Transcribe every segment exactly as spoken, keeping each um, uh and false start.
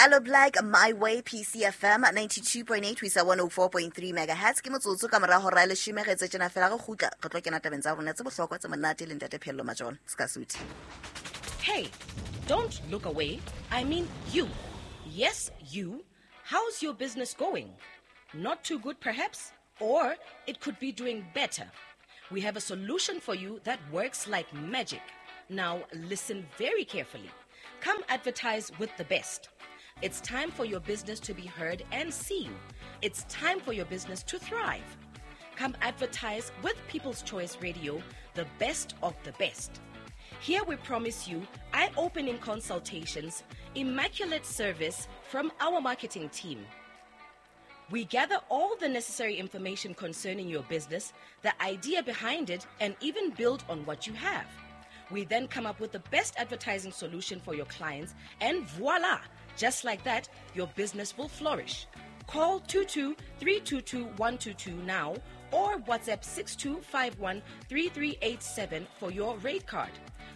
Aloe Blacc, My Way, P C F M ninety-two point eight, we sa one oh four point three megahertz. Ke motsotso ka mora hora ya leshome re etse tjena fela re kgutla re tlo kena tabeng tsa rona tse bohlokwa tse monate le Ntate Pheello Majone. Ska suthi. Hey, don't look away. I mean you. Yes, you. How's your business going? Not too good perhaps, or it could be doing better. We have a solution for you that works like magic. Now listen very carefully. Come advertise with the best. It's time for your business to be heard and seen. It's time for your business to thrive. Come advertise with People's Choice Radio, the best of the best. Here we promise you eye-opening consultations, immaculate service from our marketing team. We gather all the necessary information concerning your business, the idea behind it, and even build on what you have. We then come up with the best advertising solution for your clients, and voila! Just like that, your business will flourish. Call two two three two two one two two now or WhatsApp six two five one three three eight seven for your rate card.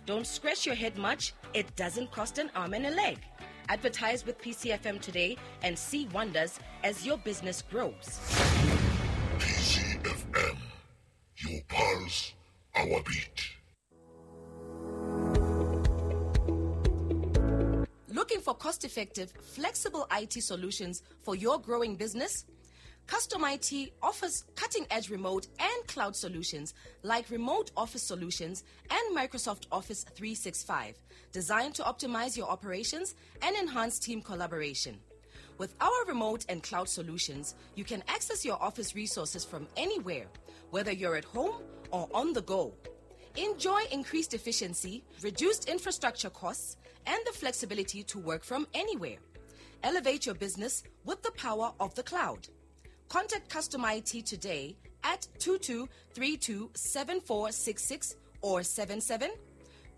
Don't scratch your head much. It doesn't cost an arm and a leg. Advertise with P C F M today and see wonders as your business grows. P C F M, your pulse, our beat. Looking for cost-effective, flexible I T solutions for your growing business? Custom I T offers cutting-edge remote and cloud solutions like remote office solutions and Microsoft Office three sixty-five, designed to optimize your operations and enhance team collaboration. With our remote and cloud solutions, you can access your office resources from anywhere, whether you're at home or on the go. Enjoy increased efficiency, reduced infrastructure costs, and the flexibility to work from anywhere. Elevate your business with the power of the cloud. Contact Custom I T today at two two three two seven four six six or seven seven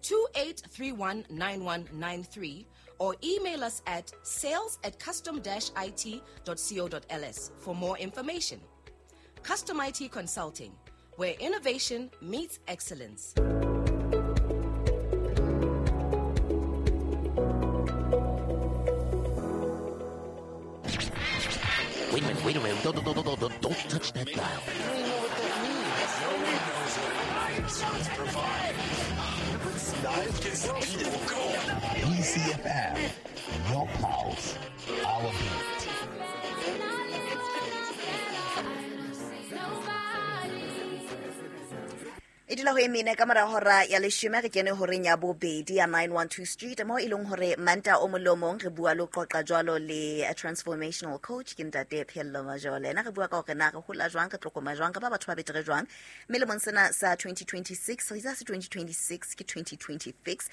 two eight three one nine one nine three or email us at sales at custom dash I T dot co dot L S for more information. Custom I T Consulting, where innovation meets excellence. Wait a minute, wait a minute. Don't, don't, don't, don't, don't touch that dial. P C F M, your pulse, our beat. E dula ho e mene ka mora hora ya leshome re kene horeng ya bobedi ya nine one two Street mo e leng hore Manta o molomong re bua lo qoqa jwalo le a transformational coach ke Ntate Pheello Majole. Ena re bua ka hore na re hola jwang, re tlokoma jwang, re ba batho ba betere jwang. Mme lemong sena sa twenty twenty-six, re itse se twenty twenty-six ke twenty twenty-six,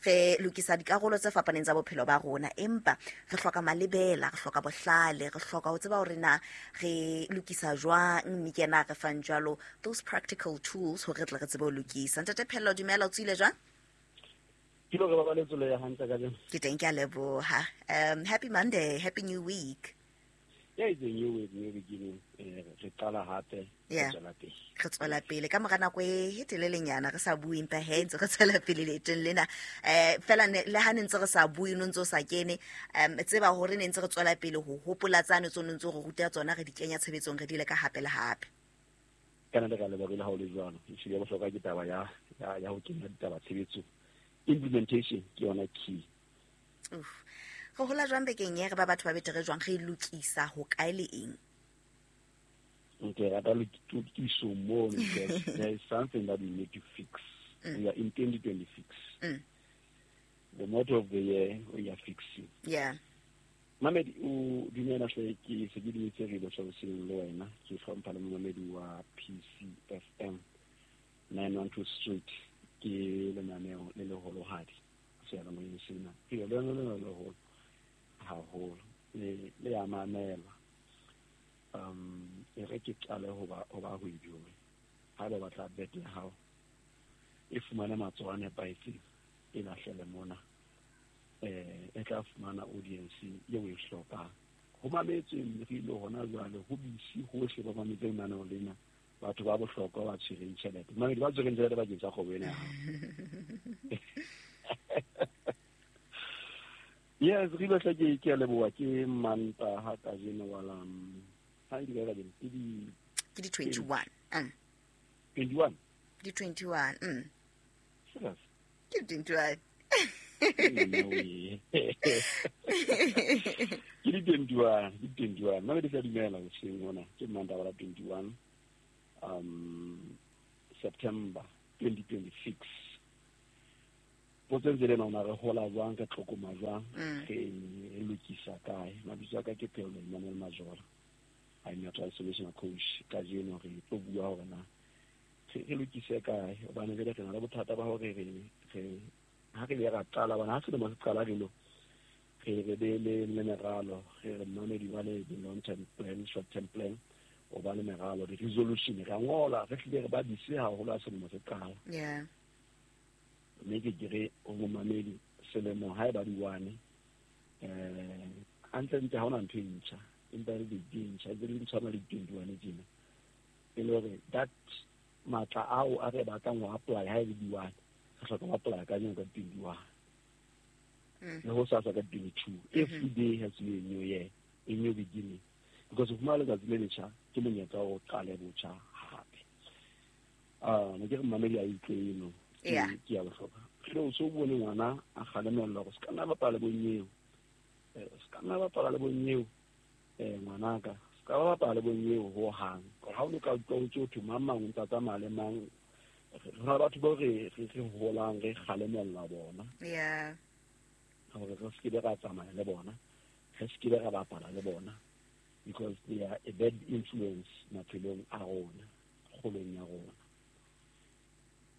re lokisa dikarolo tse fapaneng tsa bophelo ba rona, empa re hloka malebela, re hloka bohlale, re hloka ho tseba hore na re lokisa jwang, mme ke ena re fang jwalo those practical tools hore re tle re tsebe ho lokisa. Ntate Pheello, dumela, o tswile jwang? Ke lo re ba baletse le ya hantle ka jeno. Ke teng, ke a leboha. Um happy Monday, happy new week. Yeah, it's a new week, new beginning. Eh, re qala hape, re tswela pele. Re tswela pele ka mora nako e telelenyana re sa bue empa he ntse re tswela pele leetong lena. Eh fela le ha ne ntse re sa bue no ntse o sa kene, um tseba hore ne ntse re tswela pele ho hopola tsane tso ntse re ruta tsona, re di kenya tshebetsong, re di le ka hape le hape. Kana le ka lebogile ha o le jwalo. Ehlile bohlokwa ke taba ya ya ho kenya ditaba tshebetsong. Implementation ke yona key. Uff. Re hola jwang bekeng e re ba batho ba betere jwang, re lokisa ho kae le eng? Okay, rata lokiso mo, because there is something that we need to fix. Mm. We are in twenty twenty-six. Mm. The motto of the year, we are fixing. Yeah. Mamedi o dumela hle ke se ke dumetse re lo tlhaloseng le wena, ke hlompha le Mamedi wa P C F M nine one two Street, ke lenaneo le leholohadi seyalemoyeng sena. Ke lona le leholo haholo le le ya mamela. Um e re ke qale ho ba ho ba ho ijoe. Ha ba batla bet ya hao e fumana matsoho a nepahetseng, e lahlele mona. Eh e tla fumana audience eo e hlokang. Ho mametswe re ile hona jwale ho bisi hohle ba mametse lenaneo lena, batho ba bohlokwa ba tshwereng tjhelete. Mamedi ba tshwereng tjhelete bakeng sa kgwebo ena ya hao. Yes, re ile hle ke ke a leboha ke Mantaha kajeno wa la ha di ka kajeno ke di ke di twenty-one. Mm. twenty-one. Di twenty-one. Mm. Serious? Ke di twenty-one. Ke di twenty-one, ke di twenty-one. Nna ke sa dumela hoseng hona ke Mantaha wa la twenty-one um September twenty twenty-six. Potso ntse le nna re hola jwang ka tlhokoma jwang re re lokisa kae. Mabitso a ka ke Pheello Emmanuel Majola. I'm a transformational coach. Kajeno re tlo bua hore na re lokise kae hobane jwale re na le bothata ba hore re re ha re le ra qala bana ha selemo se qala re lo re re be le le meralo re re mamedi ba le long term plan, short term plan, o ba le meralo di resolution re ngola re hlile re ba dise haholo ha selemo se qala. Yeah. Mme ke ke re o momamedi selemo ha e ba di one eh hantle-ntle ha hona ntho e ntjha empa re di ntjha e di tshwana le twenty-one tjena e le hore that matla ao a re batlang ho apply ha e le di one re hloka ho apply ka yona ka twenty-one le ho sasa ka twenty-two. Every day has to be a new year, a new beginning, because ho fumana letsatsi le letjha ke monyetla wa ho qala botjha hape. Ah ne ke re mamedi a utlwe eno. Yeah. Ke ya bohlokwa. Re o so bone ngwana a kgalemellwa hore se ka nna bapala le bonyeo. Eh se ka nna bapala le bonyeo eh ngwanaka. Se ka bapala le bonyeo ho hang. Ha o no ka utlwa o tso thwe mang mang o ntsa tsamaya le mang. Re na le batho bao re re re holang re kgalemella bona. Yeah. Hore re se ke ra tsamaya le bona. Re se ke ra bapala le bona because they are a bad influence maphelong a rona, kgolong ya rona.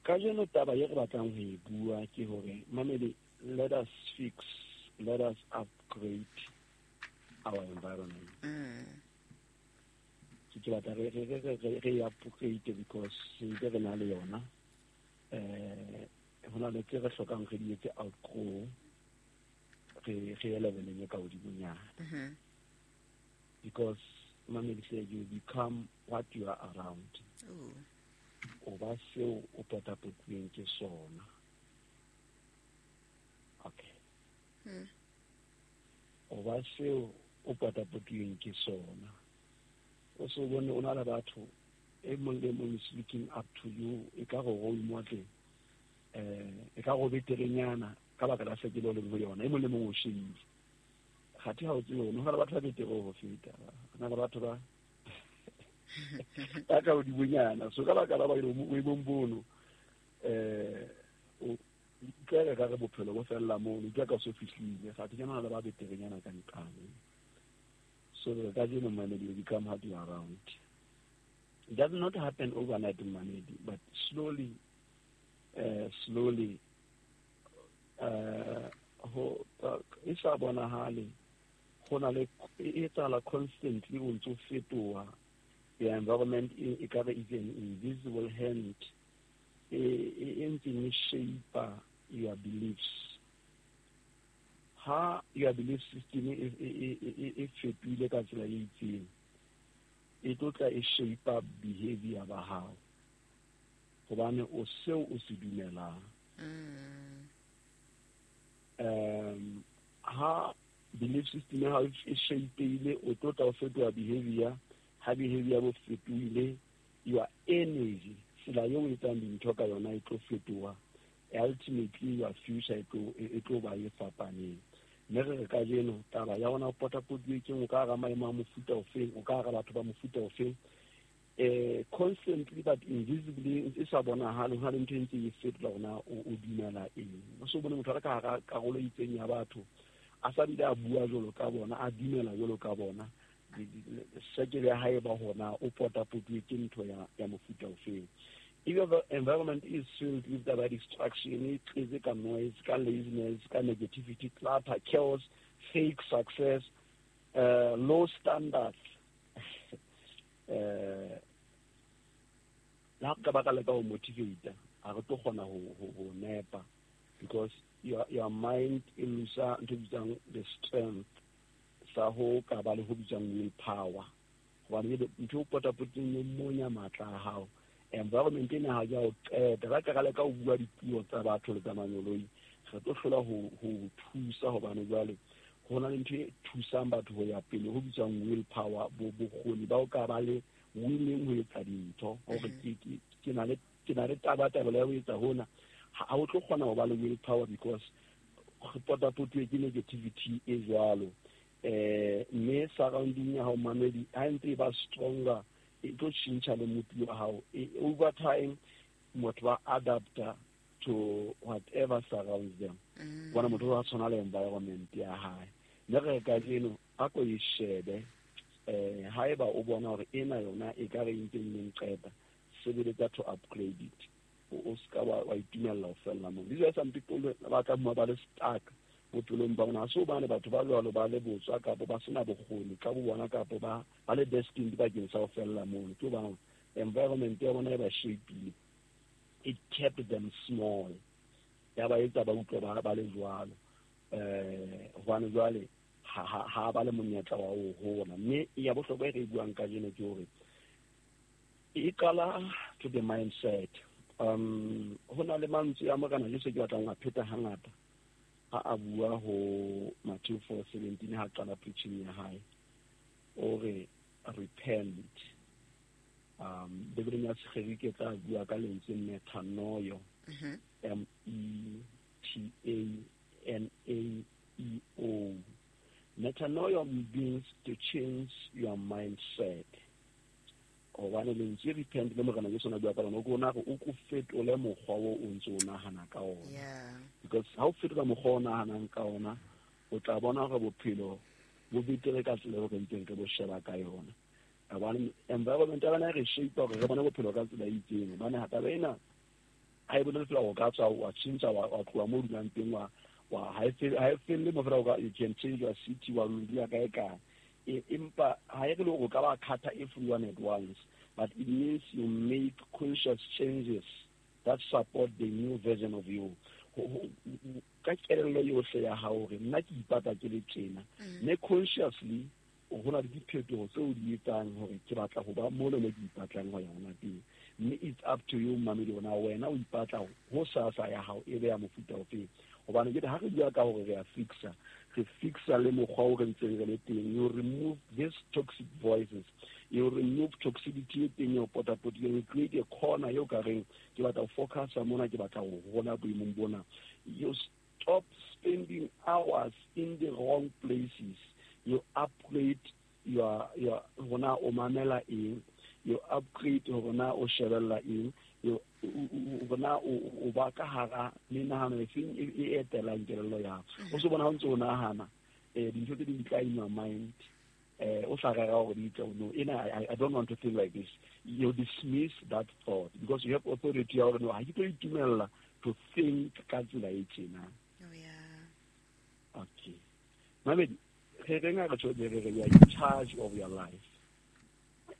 Kajeno taba ye re batlang ho e bua ke hore mamedi, let us fix, let us upgrade our environment. Mm. Ke batla re re re re re upgrade because se re na le yona eh hona le tse re hlokang re di etse outgrow re re leveleng e ka hodimonyana. Mhm. Because mamedi say you become what you are around. Ooh. O ba seo o potapotilweng ke sona. Okay. Mm. O ba seo o potapotilweng ke sona. O so bone o na le batho e mong le mong is looking up to you e ka go role model eh e ka go beterenyana ka baka la sekelo le ho yona e mong le mong o shebile. Kgathe ha o tsebe ho na le batho ba betere ho feta. Ho na le batho ba ba ka hodimonyana so ka baka la ba boemong bono eh o utlwela ka re bophelo bo fella mono utlwa ka so fihlile kgathe ke na le ba beterenyana ka nqane. So kajeno mamedi you become hard you around. It does not happen overnight mamedi, but slowly uh, slowly uh ho e sa bonahale ho na le e etsahala constantly o ntso fetoha. The environment e ka re is an invisible hand e e ntseng e shape your beliefs. Ha your belief system e e e fetohile ka tsela e itseng e tlo tla e shape behavior ba hao hobane o seo o se dumelang. Mm. Um ha belief system ya hao e shapeile o tlo tla o fetoha behavior. Ha behavior bo fetohile your energy tsela eo o etsang dintho ka yona e tlo fetoha. Ultimately your future e tlo e tlo ba e fapaneng. Mme re re kajeno taba ya hona o potapotilwe ke o ka hara maemo a mofuta ofeng, o ka hara batho ba mofuta ofeng eh constantly but invisibly e sa bonahale ho na le ntho e ntse e fetola hona o dumela eng. O so bone motho a ka hara karolo e itseng ya batho a sa bile a bua jwalo ka bona, a dumela jwalo ka bona, sekele ya hae ba hona o potapotilwe ke ntho ya ya mofuta ofeng. If your environment is filled with the distraction, e tletse ka noise, ka laziness, ka negativity, clutter, chaos, fake success, uh, low standards, eh la ka baka le ka ho motivate a re tlo kgona ho ho nepa because your your mind e lose ntho e bitswang the strength sa ho ka ba le ho bitswang will power hobane ntho o potapoting e monya matla a hao. Environment ena ha ya o qeta ba ka leka ho bua dipuo tsa batho le tsa manyoloi re tlo hlola ho ho thusa hobane jwale Ho na le ntho e thusang batho ho ya pele ho bitswang willpower, bo bokgoni ba o ka ba le willing ho etsa dintho hore ke ke ke na le ke na le tabatabelo ya ho etsa hona. Ha o tlo kgona ho ba le willpower because re potapotuwe ke negativity e jwalo. Eh mme surrounding ya hao mamedi ha ntse e ba stronger, e tlo tjhentjha le motho wa hao. Over time motho ba adapta to whatever surrounds them. Bona motho wa tshwana le environment ya hae. Mme re kajeno a ko e shebe eh haeba o bona hore ena yona e ka re ntseng neng qeta, sebeletsa to upgrade it. O ska wa wa itumella ho fella moo. These are some people ba tla bua ba le stuck bophelong ba bona. So bane batho ba jwalo ba le botswa kapa ba sena bokgoni ka bo bona kapa ba ba le destined bakeng sa ho fella moo. Ke ba environment ya bona e ba shape-ile. It kept them small. Ya ba etsa ba utlwe ba ba le jwalo. Eh hobane jwale ha ha ha ba le monyetla wa ho hola. Mme ya bohlokwa e re buang kajeno ke hore e qala to the mindset. Um ho na le mantswe a Morena Jesu ke batlang ho a pheta hangata ha a bua ho Matthew four seventeen ha qala preaching ya hae. O re repent. Um Bibeleng ya Segerike tla bua ka lentswe metanoio. M E T A N A E O. Metanoia means to change your mindset. Hobane lentswe repent le Morena Jesu na bua ka lona, o ko na re o ko fetole mokgwa o o ntso o nahana ka ona. Because ha o fetola mokgwa o nahanang ka ona, o tla bona hore bophelo bo betere ka tsela eo re ntseng re bo sheba ka yona. Hobane environment ya rona e re shape hore re bone bophelo ka tsela e itseng. Hobane ha taba ena ha e bolele fela o ka tswa wa tjhentjha wa wa tloha moo o dulang teng wa wa ha e fele ha e felle mo fela o ka you can change your city wa dula kae kae. Empa ha e re le hore o ka ba cut everyone at once, but it means you make conscious changes that support the new version of you. Ka kelello yohle ya hao hore nna ke ipatla ke le tjena, mme consciously ho na le diphetoho tseo di etsang hore ke batla ho ba mole mo ke ipatlang ho ya hona teng. Mme it's up to you mamedi hore na wena o ipatla ho sasa ya hao e be ya mofuta ofeng. Hobane ke ha re bua ka hore re a fixa, re fixa le mokgwa o re ntseng re le teng. You remove these toxic voices, you remove toxicity e teng e o potapotileng, you create a corner eo ka reng ke batla ho focusa mona, ke batla ho hola boemong bona. You stop spending hours in the wrong places. You upgrade your your hona o mamela eng, you upgrade hore na o shebella eng, you hore o ba ka hara menahano e feng e etelang kelello ya hao. O se bona ha o ntse o nahana eh dintho tse ding di tla in your mind, eh o sa rera hore di tle, no ena I, I don't want to think like this. You dismiss that thought because you have authority ya hore no ha ke tlo itumella to think ka tsela e tjena. Oh yeah. Okay. Mamedi, re reng ha re tjho re re you are in charge of your life.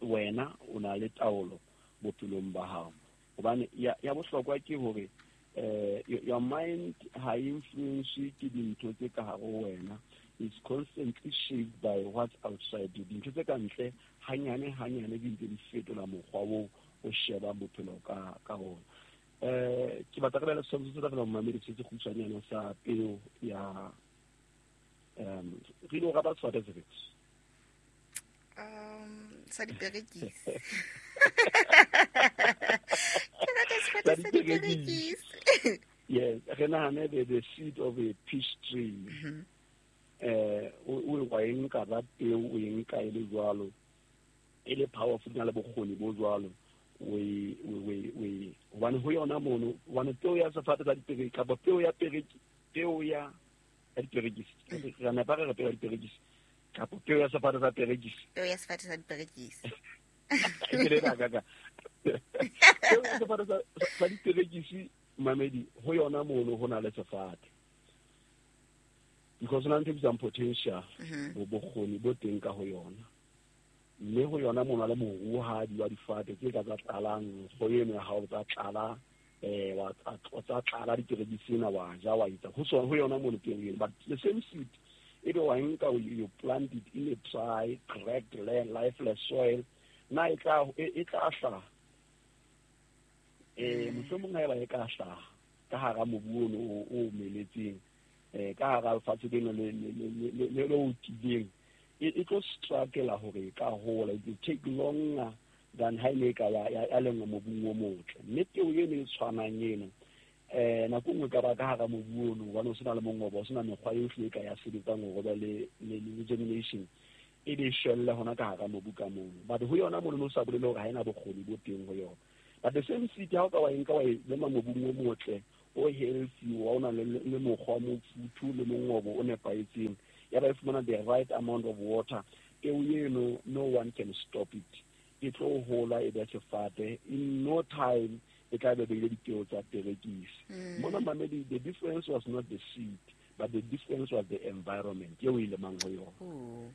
Wena o na le taolo bophelong ba hao. Hobane ya ya bohlokwa ke hore eh your mind ha influence ke dintho tse ka hare ho wena. It's constantly shaped by what's outside you. Dintho tse ka ntle hanyane hanyane di ntse di fetola mokgwa o o sheba bophelo ka ka ona. Eh ke batla re bele setshwantsho se tla fela mamedi se se kgutshwanyane sa peo ya um re lo rata sefate sefe? Um sa diperekisi. Ke rata sefate sa diperekisi. Yes, re nahane the, the seed of a peach tree. Mm-hmm. Eh o wa e nka ba peo o e nka e le jwalo, e le powerful na le bokgoni bo jwalo. We we we hobane ho yona mono, hobane peo ya sefate sa diperekisi kapa peo ya pereki, peo ya ya diperekisi, re nepa re re peo ya diperekisi kapa peo ya sefate sa perekisi, peo ya sefate sa diperekisi. Ke le ka ka peo ya sefate sa sa diperekisi mamedi, ho yona mono ho na le sefate because na ntho e bitswang potential, bo bokgoni bo teng ka ho yona. Mme ho yona mono le moruhadi wa difate tse ka tsa tlalang go eno ya hao tsa tlala eh wa tsa tlala diperekisi ena wa ja wa etsa ho sona ho yona mono peo eno. But the same seed ebe wa nka you plant it in a dry cracked land, lifeless soil, na e tla e tla hlaha eh mohlomong ha eba e ka hlaha ka hara mobu ono o omeletseng, eh ka hara lefatshe leno le le le le o tileng e tlo struggle hore e ka hola. It will take longer than ha ile ka ya ya lengwa mobung o motle. Mme peo eno e tshwanang eno eh nako nngwe ka ba ka hara mobu ono hobane o sena le mongobo, o sena mekgwa yohle e ka ya sebetsang hore ba le le germination e be shwella hona ka hara mobu ka mono. But ho yona mono o sa bolele hore ha ena bokgoni bo teng ho yona. But the same seed ha o ka wa e nka wa e lema mobung o motle o healthy wa o nang le mokgwa o mofuthu le mongobo o nepahetseng, ya ba e fumana the right amount of water, peo eno no one can stop it. E tlo hola e be sefate in no time. E tla be beile dipeo tsa perekisi. Mona mamedi, the difference was not the seed, but the difference was the environment eo e lemang ho yona.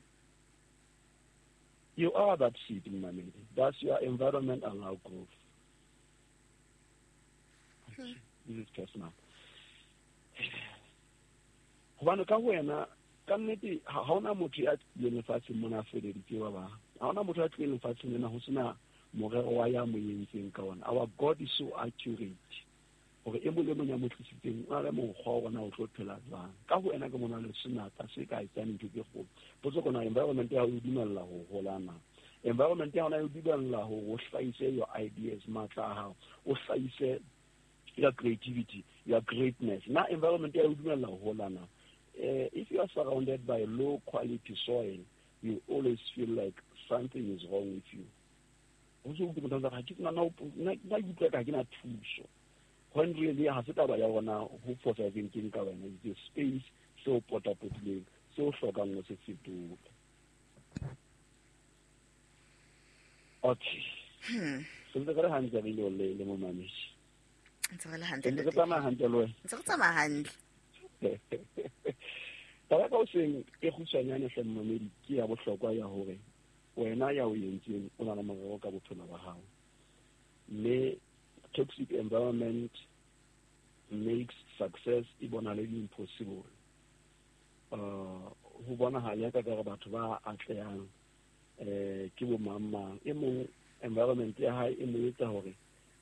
You are that seed, mamedi. That's your environment allow growth. Hmm. This is personal. Hobane ka wena ka nnete ha hona motho ya tlileng lefatsheng mona a feleditse ba bang. Ha hona motho ya tlileng lefatsheng lena ho sena morero wa ya mo entseng ka ona. Our God is so accurate hore e mong le mong ya mo tlisitseng o na le mokgwa wa ona o tlo phela jwang. Ka ho wena ke mona le senatla se ka etsang ntho tse kgolo. Potso kona environment ya hao e dumella ho hola na? Environment ya hona e dumella hore o hlahise your ideas, matla a hao, o hlahise your creativity, your greatness. Na environment ya hao e dumella ho hola na? Uh, if you are surrounded by low quality soil, you always feel like something is wrong with you. O so utlwe motho a re, na na na utlwa ka ke na thuso. When really ha se taba ya rona ho fosahetseng keng ka wena, it's a space seo potapotileng seo hlokang ho se fetola. Okay. Hmm. Se ntse re le hantle re ile le momamedi. Ntse re le hantle. Ntse re tsamaya hantle le wena. Ntse re tsamaya hantle. Taba ka hoseng e kgutshwanyane hle momamedi ke ya bohlokwa ya hore wena ya o entseng o na le morero ka bophelo ba hao. Mme toxic environment makes success e bonale impossible. Uh, ho bonahala ya ka ka batho ba atlehang eh ke bo mang mang. E mong environment ya hae e mo etsa hore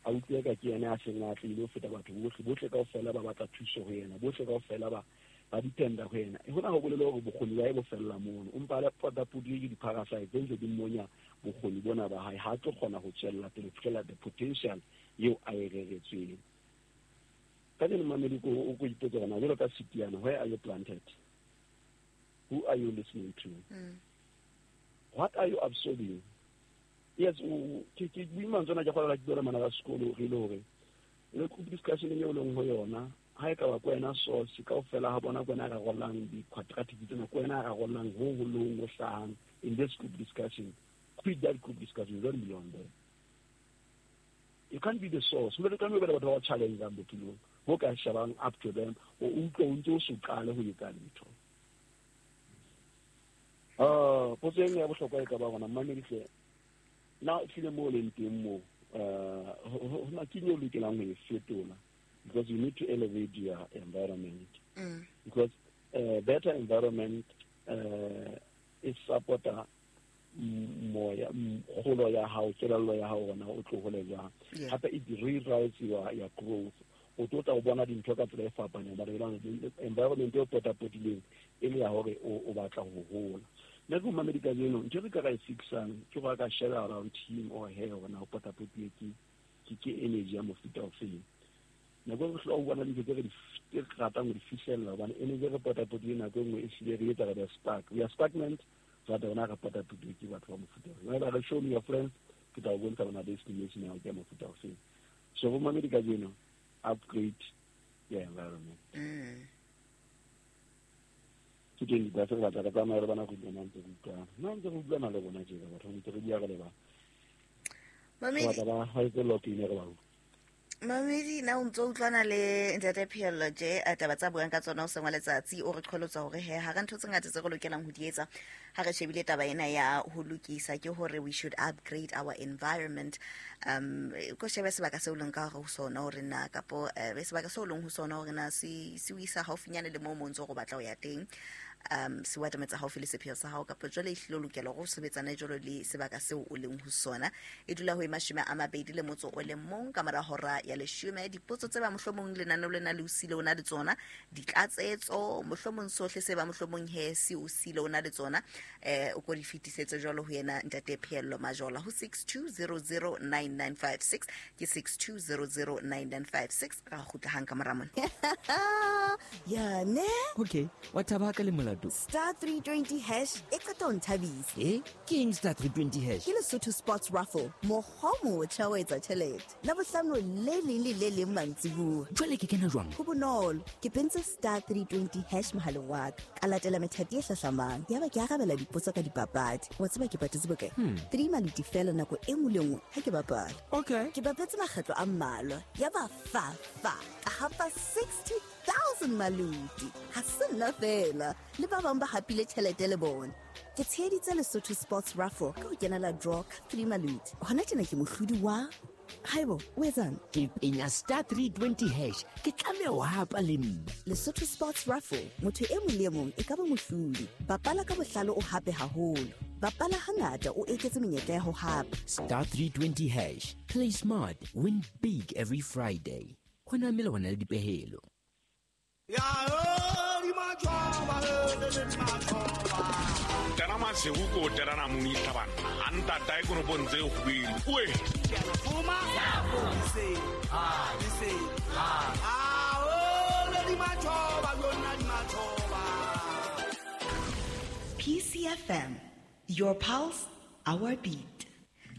a utlwe ka ke yena a seng a atlehile ho feta batho bohle. Bohle kaofela ba batla thuso ho yena, bohle kaofela ba ba dependa ho yena. E hona ho bolele hore bokgoni ba hae bo fella mono. O mpa le potapotile ke di-parasite tse ntse di monya bokgoni bona ba hae. Ha tlo kgona ho tswella pele ho fihlela the potential eo a e reretsweng. Kajeno mamedi ko o ko ipotsa hore na jwalo ka setiana, where are you planted? Who are you listening to? Mm. What are you absorbing? Yes, ke ke buima tsona ke kgola ke bua le bana ba sekolo re ile hore le group discussion eo leng ho yona ha e ka ba kwena source kaofela ha bona kwena rarollang di-quadratic tsena, kwena rarollang ho ho leng ho hlahang in this group discussion. Quit that group discussion, don't be on there. You can't be the source. Mme le tlameha ho batho ba challenge-ang bophelong ho ka shebang up to them, o utlwe o ntse o so qale ho etsa letho. Ah, potso e nngwe ya bohlokwa e ka ba gona mmamedi hle, na ehlile moo leng teng moo uh hona ke eng eo lokelang ho e fetola? Because you need to elevate your environment. Mm. Because a better environment uh, is supporter moya kgolo ya hao, kelello ya hao hona o tlo hole jwang. Hape it rewrites your, your growth. O tlo tla o bona dintho ka tsela e fapaneng, ba re environment e o potapotileng e le ya hore o batla ho hola. Nna ke momamedi kajeno, ntho e re ka ra e fixang ke hore a ka share around him or her hore na o potapotilwe ke ke ke energy ya mofuta ofeng. Nako e re hlola ho bona dintho tse re di tse re ratang ho di fihlella hobane energy e re potapotilwe nako e nngwe e hlile re etsa re be spark. We are stagnant, jwale rona re potapotilwe ke batho ba mofuta ofeng. Wena re show me your friends, ke tla o bontsha bona destination ya hao ke ya mofuta ofeng. So momamedi kajeno, upgrade your environment. Mm. Ke teng di batla re batla re tsamaya re bana go utlwana ntse re utlwana. Nna ntse re utlwana le bona tjena batho ntse re bua re le ba. Mamedi Batla ba ha etse lock-in re ba utlwa. Mamedi na o ntso utlwana le Ntate Pheello tje taba tsa buang ka tsona o sengwa letsatsi o re qholotsa hore he ha re ntho tse ngata tse re lokelang ho di etsa ha re shebile taba ena ya ho lokisa ke hore we should upgrade our environment. Um ko shebe sebaka seo leng ka hore ho sona hore na kapo eh sebaka seo leng ho sona hore na se se o isa haufinyane le moo mo ntso go batla ho ya teng. um se o atametsa haufi le sepheo sa hao kapa jwale e hlile o lokela hore o sebetsane jwalo le sebaka seo o leng ho sona. E dula ho e mashome a mabedi le motso o le mong ka mora hora ya leshome. Dipotso tse ba mohlomong lenaneo lena le o sile o na le tsona, ditlatsetso mohlomong sohle se ba mohlomong he se o sile o na le tsona, eh o ko di fetisetse jwalo ho yena ntate Pheello Majola ho six two zero zero nine nine five six ke six two zero zero nine nine five six. Ra kgutla hang ka mora mona. Ya ne? Okay, wa thaba ka le molato. Star three twenty hash e qeta ho nthabisa. Eh? Ke eng star three twenty hash? Ke Lesotho Sports Raffle. Mokgwa o motjha wa etsa tjhelete. Labohlano le leng le le leng mantsibuya. Jwale ke kena jwang? Ho bonolo. Ke pentse star three twenty hash mohaleng wa ka. Ka latela methati e hlahlamang. Yaba ke arabela dipotso ka dipapadi. Wa tseba ke patetse bokae? Hmm. Three maluti fela nako e nngwe le nngwe ha ke bapala. Okay. Ke bapetse makgetlo a mmalwa. Yaba fa fa. Ka hapa sixty thousand maluti. Ha se nna fela. Le ba bang ba hapile tjhelete le bona. Ke tsheheditse Lesotho Sports Raffle ka ho kenela draw ka three maluti. Hona tjena ke mohlodi wa Haibo, o etsang? Ke penya star three twenty hash. Ke tlameha ho hapa le nna. Lesotho Sports Raffle, motho e mong le e mong e ka ba mohlodi. Bapala ka bohlale o hape haholo. Bapala hangata o eketse menyetla ya ho hapa. Star three twenty hash. Play smart, win big every Friday. Hona melawana le dipehelo. Ya di majoba le majoba. Tana masihu ko tana muni tabana. Anta tai kono bonze hwili. Uwe. Fuma. Se. Ah, se. Ah, ah, oh, le di majoba, yona di majoba. P C F M, your pulse, our beat.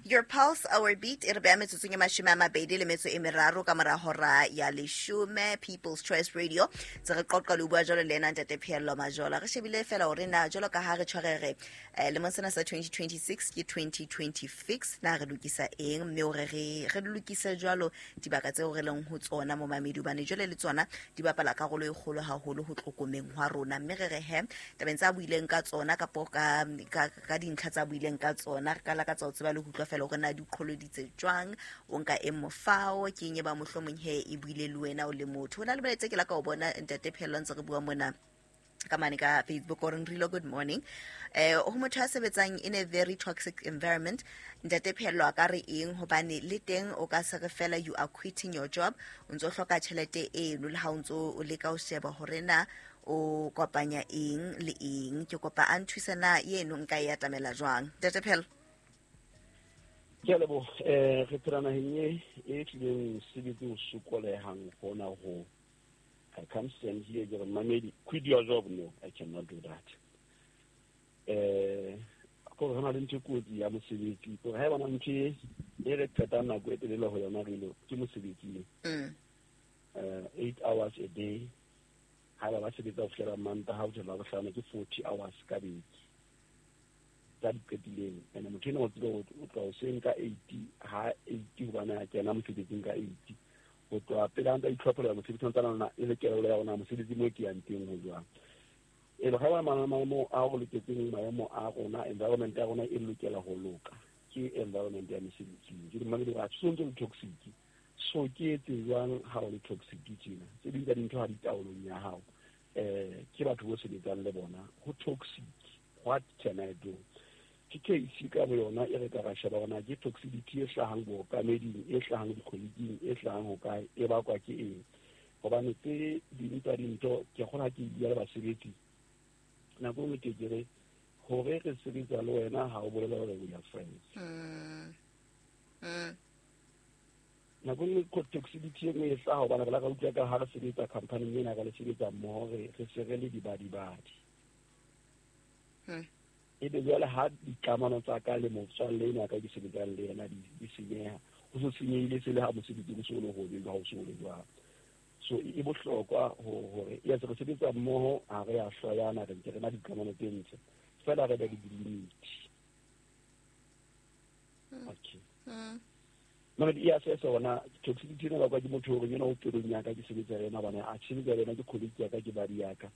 Your pulse, our beat. E re beha metsotsong e mashome a mabedi le metso e meraro ka mora hora ya leshome. People's Choice Radio. Tse re qoqa le bua jwalo le ena ntate Pheello Majola. Re shebile fela hore na jwalo ka ha re tshwarere eh, lemong sena sa twenty twenty-six ke twenty twenty-six na re lokisa eng, mme hore re re lokise jwalo dibaka tseo re leng ho tsona mo mamedi hobane jwale le tsona di bapala karolo e kgolo haholo ho tlokomeng hwa rona. Mme re re he tabeng tsa buileng ka tsona kapo ka ka, ka dintlha tsa buileng ka tsona re ka lakatsa ho tseba le ho utlwa fela hore na di qholoditse jwang, o nka e mofao ke eng e ba mohlomong he e buile le wena o le motho. Ho na le molaetsa ke la ka o bona ntate Pheello ntse re bua mona ka mane ka Facebook o reng Rilo good morning. Eh ho motho a sebetsang in a very toxic environment, ntate Pheello a ka re eng hobane le teng o ka se re fela you are quitting your job, o ntso hloka tjhelete eno le ha o ntso o leka ho sheba hore na o kopanya eng le eng. Ke kopa a nthuse na eno nka e atamela jwang ntate Pheello? Ke a leboha. Eh re phela naheng e e tlileng sebetse o sokolehang hona ho. I can't stand here ke re mamedi quit your job. No, I cannot do that. Eh ko re na le ntho e kotsi ya mosebetsi, ko ha e bona ntho e e re qetang nako e telele ho yona re lo ke mosebetsing. Mm. Eh eight hours a day. Ha ba ba sebetsa ho fihlela Mantaha ho fihlela Labohlano ke forty hours ka beke. Tsa di qetileng. Ene motho ena o tsebe o tloha hoseng ka eight, ha eight hobane a kena mosebetsing ka eight. Ho tloha pele a ntsa itlhophola mosebetsi o ntsana e le kelello ya rona mosebetsi mo ke yang teng ho jwang. E le ha ba maemo a o loketseng maemo a rona, environment ya rona e lokela ho loka. Ke environment ya mesebetsing. Ke dumela hore ha se ntse le toxic. So ke etse jwang ha o le toxic tjena? Tse ding tsa dintho ha di taolong ya hao. Eh ke batho bo sebetsang le bona. Ho toxic. What can I do? Ke case ka bo yona e re ka ra sheba hore na ke toxicity e hlahang bookameding, e hlahang dikgolekeng, e hlahang ho kae, e bakwa ke eng. Hobane tse ding tsa dintho ke kgona ke bua le basebetsi. Nako e nngwe ke ke re hore re sebetsa le wena ha o bolela hore we are friends. Mm. Mm. Nako e nngwe toxicity e nngwe e hlaha hobane re la ka utlwa ka ha re sebetsa company ena ka le sebetsa mmoho re re se re le dibadibadi. Mm. Ebe jwale ha dikamano tsa ka le motswalle ena ka ke sebetsang le yena di di senyeha, ho so senyehile se le ha mosebetsi o so le hobe ha o so le jwang. So e bohlokwa hore yes re sebetsa mmoho ha re a hloyana re ntse re na dikamano tse ntle fela re be le di-limit. Okay. Mm. Mara di assess hona toxicity ena bakwa ke motho hore yena o pelong ya ka ke sebetsa le yena hobane a sebetsa le yena ke colleague ya ka ke badi ya ka.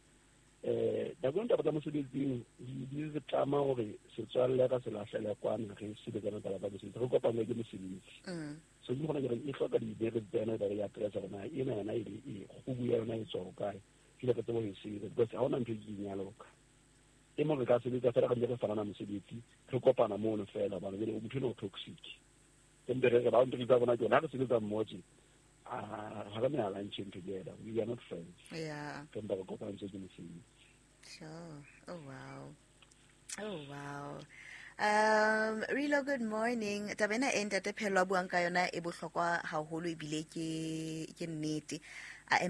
Eh nako taba tsa mosebetsing di di re tlama hore setswalle ka se lahlele kwana re sebetsana taba tsa mosebetsi re kopane ke mosebetsi. Mm. So ke gona ke re e hloka dibere tsena ba re ya address rona ena yona e e kgubu ya yona e tswa ho kae. Ke le re tsebe ho e sebetsa because ha hona ntho e ke ya loka. E mong re ka sebetsa fela re bile re fanana mosebetsi, re kopana mono fela hobane jwale motho enwa o toxic. Empa re re boundary tsa rona ke yona, ha re sebetsa mmoho tje, ah, ha re na lunching together. We are not friends. Yeah. Re mpa re kopantswe ke mosebetsi. Sure. Oh, wow. Oh, wow. Um, Rilo, good morning. Taba ena e ntate Phello a buang ka yona e bohlokwa haholo ebile ke ke nnete. I am a